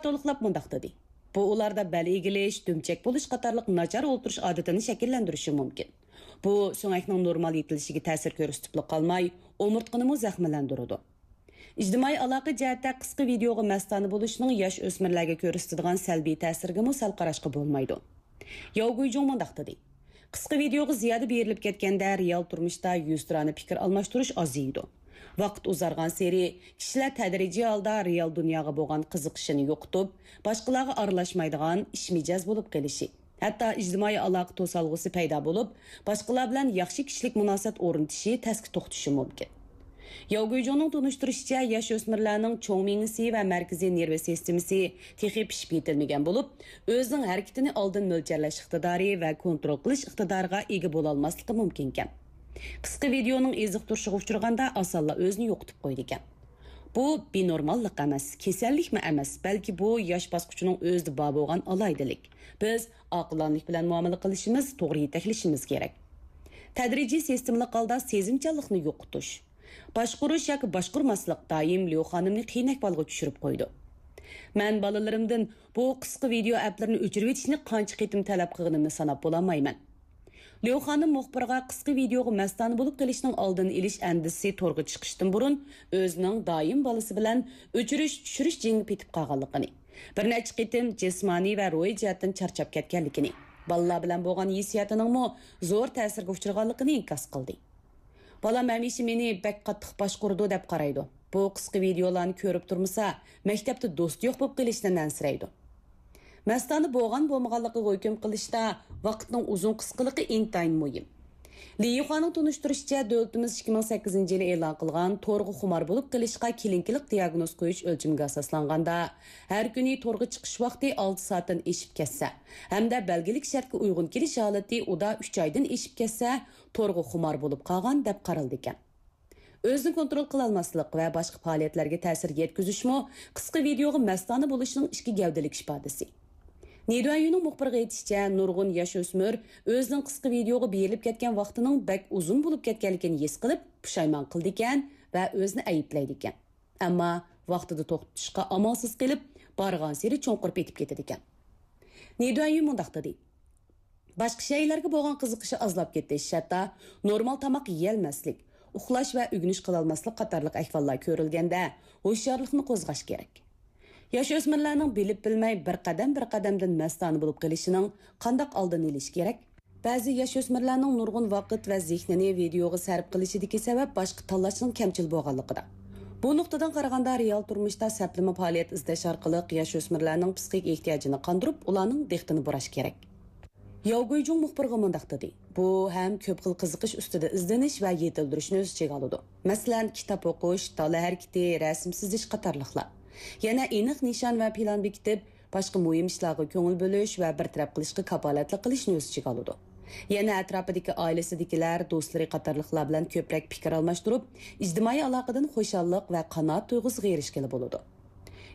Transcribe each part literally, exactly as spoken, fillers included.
تولۇقلاپ مۇنداق دېدى: بۇ ئۇلاردا بەل ئېگىلىش، دۈمچەك بولۇش قاتارلىق ناچار ئولتۇرۇش ئادىتىنى شەكىللەندۈرۈشى مۇمكىن. بۇ سۆڭەكنىڭ نورمال يېتىلىشىگە تەسىر كۆرسىتىپلا قالماي، ئومۇرتقىنىمۇ زەخىملەندۈرىدۇ. ئىجتىمائىي ئالاقە جەھەتتە قىسقا ۋىدېئوغا مەستانە بولۇشنىڭ ياش ئۆسمۈرلەرگە كۆرسىتىدىغان سەلبىي تەسىرىگىمۇ سەل قاراشقا بولمايدۇ. ياۋ گۇيجۇڭ مۇنداق دېدى: قىسقا ۋىدېئوغا زىيادە بېرىلىپ كەتكەندە، رېئال تۇرمۇشتا يۈزتۇرانە پىكىر ئالماشتۇرۇش ئازىيىدۇ. ۋاقىت ئۇزارغانسېرى، كىشىلەر تەدرىجىي ھالدا رېئال دۇنياغا بولغان قىزىقىشىنى يوقىتىپ، باشقىلارغا ئارىلاشمايدىغان، ئىچ مىجەز بولۇپ قېلىشى، ھەتتا ئىجتىمائىي ئالاقە توسالغۇسى پەيدا بولۇپ، باشقىلار بىلەن ياخشى كىشىلىك مۇناسىۋەت ئورنىتىشى تەسكە توختىشى مۇمكىن. ياۋ گۇيجۇڭنىڭ تونۇشتۇرۇشىچە، ياش ئۆسمۈرلەرنىڭ چوڭ مېڭىسى ۋە مەركىزىي نېرۋا سىستېمىسى تېخى پىشىپ يېتىلمىگەن بولۇپ، ئۆزىنىڭ ھەرىكىتىنى ئالدىن مۆلچەرلەش ئىقتىدارى ۋە كونترول قىلىش ئىقتىدارىغا ئىگە بولالماسلىقى مۇمكىنكەن. قىسقا ۋىدېئونىڭ ئېزىقتۇرۇشىغا ئۇچرىغاندا، ئاسانلا ئۆزىنى يوقىتىپ قويىدىكەن. بۇ بىنورماللىق ئەمەس، كېسەللىكمۇ ئەمەس، بەلكى بۇ ياش باسقۇچىنىڭ ئۆزىدە بار بولغان ئالاھىدىلىك. بىز ئاقىلانىلىك بىلەن مۇئامىلە قىلىشىمىز، توغرا يېتەكلىشىمىز كېرەك. تەدرىجىي سىستېمىلىق ھالدا سېزىمچانلىقنى يوقىتىش، باشقۇرۇش ياكى باشقۇرماسلىق دائىم ليۇ خانىمنى قىيىن ئەھۋالغا چۈشۈرۈپ قويىدۇ. مەن بالىلىرىمدىن بۇ قىسقا ۋىدېئو ئەپلىرىنى ئۆچۈرۈۋېتىشنى قانچە قېتىم تەلەپ قىلغىنىمنى ساناپ بولالمايمەن. ليۇ خانىم مۇخبىرغا قىسقا ۋىدېئوغا مەستانە بولۇپ قېلىشنىڭ ئالدىنى ئېلىش ئەندىزىسى تورغا چىقىشتىن بۇرۇن ئۆزىنىڭ دائىم بالىسى بىلەن ئۆچۈرۈش چۈشۈرۈش جېڭىگە پېتىپ قالغانلىقىنى، بىر نەچچە قېتىم جىسمانىي ۋە روھىي جەھەتتىن چارچاپ كەتكەنلىكىنى، بالىلار بىلەن بولغان ھېسسىياتىنىڭمۇ زور تەسىرگە ئۇچرىغانلىقىنى ئىنكاس قىلدى. بالام ھەمىشە مېنى بەك قاتتىق باشقۇرىدۇ دەپ قارايدۇ. بۇ قىسقا ۋىدېئولارنى كۆرۈپ تۇرمىسا، مەكتەپتە دوستى يوق بولۇپ قېلىشتىن ئەنسىرەيدۇ. مەستانە بولغان بولمىغانلىقىغا ھۆكۈم قىلىشتا ۋاقىتنىڭ ئۇزۇن قىسقىلىقى ئىنتايىن مۇھىم. لى يىخۇانىڭ تونۇشتۇرۇشىچە، دۆلىتىمىز ئىككى مىڭ سەككىزىنچى يىلى ئېلان قىلغان تورغا خۇمار بولۇپ قېلىشقا كىلىنىكىلىق دىياگنوز قويۇش ئۆلچىمىگە ئاساسلانغاندا، ھەر كۈنى تورغا چىقىش ۋاقتى ئالتە سائەتتىن ئېشىپ كەتسە ھەمدە بەلگىلىك شەرتكە ئۇيغۇن كېلىش ھالىتى ئۇدا ئۈچ ئايدىن ئېشىپ كەتسە، تورغا خۇمار بولۇپ قالغان دەپ قارىلىدىكەن. ئۆزىنى كونترول قىلالماسلىق ۋە باشقا پائالىيەتلەرگە تەسىر يەتكۈزۈشمۇ قىسقا ۋىدېئوغا مەستانە بولۇشنىڭ ئىككى گەۋدىلىك ئىپادىسى. نىدۇەيۈنىڭ مۇخبىرغا ئېيتىشىچە، نۇرغۇن ياش ئۆسمۈر ئۆزىنىڭ قىسقا ۋىدېئوغا بېرىلىپ كەتكەن ۋاقتىنىڭ بەك ئۇزۇن بولۇپ كەتكەنلىكىنى ھېس قىلىپ، پۇشايمان قىلىدىكەن ۋە ئۆزىنى ئەيىبلەيدىكەن. ئەمما ۋاقتىدا توختىتىشقا ئامالسىز قېلىپ، بارغانسېرى چوڭقۇر پېتىپ كېتىدىكەن. نىدۇەيۈن مۇنداق دېدى: باشقا شەيئىلەرگە بولغان قىزىقىشى ئازلاپ كېتىش، ھەتتا نورمال تاماق يېيەلمەسلىك، ئۇخلاش ۋە ئۆگىنىش قىلالماسلىق قاتارلىق ئەھۋاللار كۆرۈلگەندە، ھوشيارلىقنى قوزغاش كېرەك. ياش ئۆسمۈرلەرنىڭ بىلىپ بىلمەي بىر قەدەم بىر قەدەمدىن مەستانە بولۇپ قېلىشىنىڭ قانداق ئالدىنى ئېلىش كېرەك؟ بەزى ياش ئۆسمۈرلەرنىڭ نۇرغۇن ۋاقىت ۋە زېھنىنى ۋىدېئوغا سەرپ قىلىشىدىكى سەۋەب باشقا تاللاشنىڭ كەمچىل بولغانلىقىدا. بۇ نۇقتىدىن قارىغاندا، رېئال تۇرمۇشتا سەپلىمە پائالىيەت ئىزدەش ئارقىلىق ياش ئۆسمۈرلەرنىڭ پسىخىك ئېھتىياجىنى قاندۇرۇپ، ئۇلارنىڭ دىققىتىنى بۇراش كېرەك. ياۋ گۇيجۇڭ مۇخبىرغا مۇنداق دېدى: بۇ ھەم كۆپ خىل قىزىقىش ئۈستىدە ئىزدىنىش ۋە يېتىلدۈرۈشنى ئۆز ئىچىگە ئالىدۇ. مەسىلەن، كىتاب ئوقۇش، دالا ھەرىكىتى، رەسىم سىزىش قاتارلىقلار. يەنە ئېنىق نىشان ۋە پىلان بېكىتىپ، باشقا مۇھىم ئىشلارغا كۆڭۈل بۆلۈش ۋە بىر تەرەپ قىلىشقا كاپالەتلىك قىلىشنى ئۆز ئىچىگە ئالىدۇ. يەنە ئەتراپىدىكى ئائىلىسىدىكىلەر، دوستلىرى قاتارلىقلار بىلەن كۆپرەك پىكىر ئالماشتۇرۇپ، ئىجتىمائىي ئالاقىدىن خۇشاللىق ۋە قانائەت تۇيغۇسىغا ئېرىشكىلى بولىدۇ.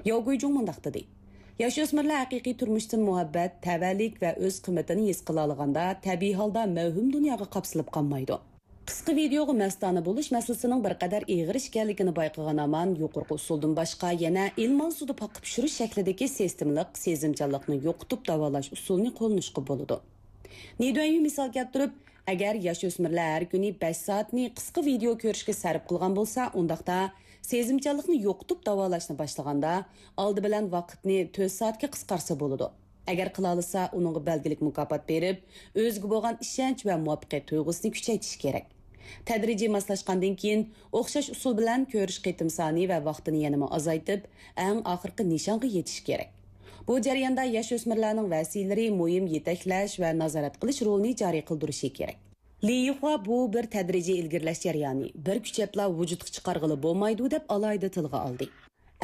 ياۋ گۇيجۇڭ مۇنداق دېدى: ياش ئۆسمۈرلەر ھەقىقىي تۇرمۇشتىن مۇھەببەت، تەۋەلىك ۋە ئۆز قىممىتىنى ھېس قىلالىغاندا، تەبىئىي ھالدا مەۋھۇم دۇنياغا قاپسىلىپ قالمايدۇ. قىسقا ۋىدېئوغا مەستانە بولۇش مەسىلىسىنىڭ بىر قەدەر ئېغىر ئىكەنلىكىنى بايقىغان ھامان يۇقىرىقى ئۇسۇلدىن باشقا يەنە ئىلمان سۇدا پاقا پىشۇرۇش شەكلىدىكى سىستېمىلىق سېزىمچانلىقنى يوقىتىپ داۋالاش ئۇسۇلىنى قوللىنىشقا بولىدۇ. نىدۇەيۈ مىسال كەلتۈرۈپ، ئەگەر ياش ئۆسمۈرلەر ھەر كۈنى بەش سائەتنى قىسقا ۋىدېئو كۆرۈشكە سەرپ قىلغان بولسا، ئۇنداقتا سېزىمچانلىقنى يوقىتىپ داۋالاشنى باشلىغاندا، ئالدى بىلەن ۋاقىتنى تۆت سائەتكە قىسقارتسا بولىدۇ. ئەگەر قىلالىسا، ئۇنىڭغا بەلگىلىك مۇكاپات بېرىپ، ئۆزىگە بولغان ئىشەنچ ۋە مۇۋەپپەقىيەت تۇيغۇسىنى كۈچەيتىش كېرەك. تەدرىجىي ماسلاشقاندىن كېيىن، ئوخشاش ئۇسۇل بىلەن كۆرۈش قېتىم سانى ۋە ۋاقتىنى يەنىمۇ ئازايتىپ، ئەڭ ئاخىرقى نىشانغا يېتىش كېرەك. بۇ جەرياندا ياش ئۆسمۈرلەرنىڭ ۋەسىيلىرى مۇھىم يېتەكلەش ۋە نازارەت قىلىش رولىنى جارى قىلدۇرۇشى كېرەك. لى يىخۇا بۇ بىر تەدرىجىي ئىلگىرىلەش جەريانى، بىر كۈچەپلا ۋۇجۇدقا چىقارغىلى بولمايدۇ، دەپ ئالاھىدە تىلغا ئالدى.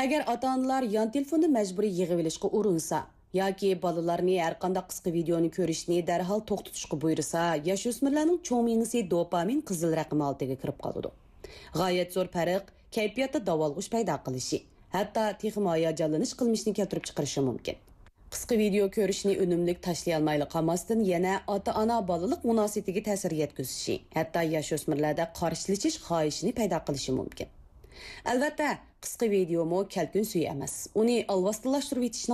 ئەگەر ئاتا-ئانىلار يان تېلېفوننى مەجبۇرىي يىغىۋېلىشقا ئۇرۇنسا ياكى بالىلارنى ھەرقانداق قىسقا ۋىدېئونى كۆرۈشنى دەرھال توختىتىشقا بۇيرۇسا، ياش ئۆسمۈرلەرنىڭ چوڭ مېڭىسى دوپامىن قىزىل رەقىم ھالىتىگە كىرىپ قالىدۇ. غايەت زور پەرق كەيپىياتتا داۋالغۇش پەيدا قىلىشى، ھەتتا تېخىمۇ ھاياجانلىنىش قىلمىشىنى كەلتۈرۈپ چىقىرىشى مۇمكىن. قىسقا ۋىدېئو كۆرۈشنى ئۈنۈملۈك تاشلىيالمايلا قالماستىن، يەنە ئاتا-ئانا بالىلىق مۇناسىۋىتىگە تەسىر يەتكۈزۈشى، ھەتتا ياش ئۆسمۈرلەردە قارشىلىشىش خاھىشىنى پەيدا قىلىشى مۇمكىن. ئەلۋەتتە، قىسقا ۋىدېئومۇ كەلكۈن سۈيى ئەمەس. ئۇنى ئالۋاستىلاشتۇرۇۋېتىشنىڭ